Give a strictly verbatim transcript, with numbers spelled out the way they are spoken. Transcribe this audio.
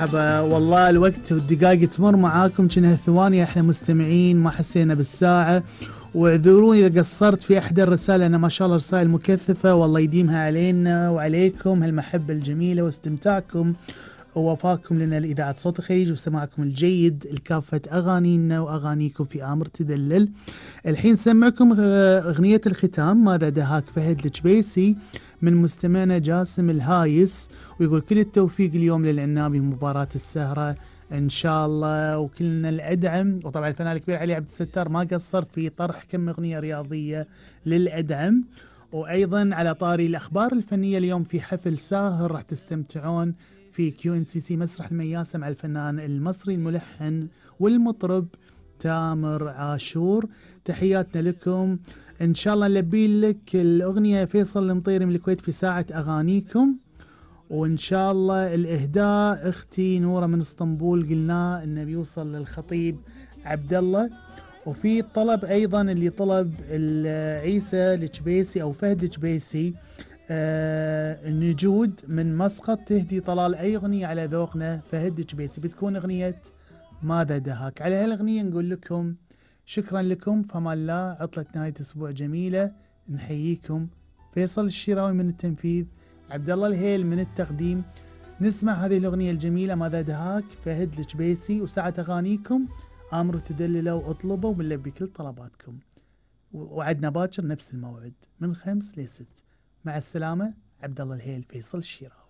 مرحبا، والله الوقت والدقائق تمر معاكم كأنها ثواني. احنا مستمعين ما حسينا بالساعة، واعذروني إذا قصرت في إحدى الرسائل، أنا ما شاء الله رسائل مكثفة، والله يديمها علينا وعليكم هالمحبة الجميلة واستمتاعكم ووفاكم لنا لإذاعة صوت الخليج وسماعكم الجيد لكافة أغانينا وأغانيكم في آمر تدلل. الحين سمعكم أغنية الختام ماذا دهاك فهد الجبيسي من مستمعنا جاسم الهايس، ويقول كل التوفيق اليوم للعنابي مباراة السهرة إن شاء الله، وكلنا الأدعم. وطبعا الفنان الكبير علي عبد الستار ما قصر في طرح كم أغنية رياضية للأدعم. وأيضا على طاري الأخبار الفنية، اليوم في حفل ساهر راح تستمتعون في كيو إن سي سي مسرح المياسة مع الفنان المصري الملحن والمطرب تامر عاشور. تحياتنا لكم، إن شاء الله نلبي لك الأغنية فيصل المطيري من الكويت في ساعة أغانيكم، وإن شاء الله الإهداء أختي نورة من اسطنبول قلنا إنه بيوصل للخطيب عبد الله. وفي طلب أيضا اللي طلب عيسى الجبيسي أو فهد الجبيسي آه النجود من مسقط تهدي طلال أي أغنية على ذوقنا فهد الجبيسي، بتكون أغنية ماذا دهاك. على هالأغنية نقول لكم شكرا لكم، فما الله، عطلة نهاية أسبوع جميلة، نحييكم. فيصل الشراوي من التنفيذ، عبد الله الهيل من التقديم. نسمع هذه الأغنية الجميلة ماذا دهاك فهد الجبيسي، وساعة أغانيكم آمروا تدللوا واطلبوا ونلبي كل طلباتكم، وعدنا باكر نفس الموعد من خمس لست. مع السلامة، عبد الله الهيل، فيصل الشراوي.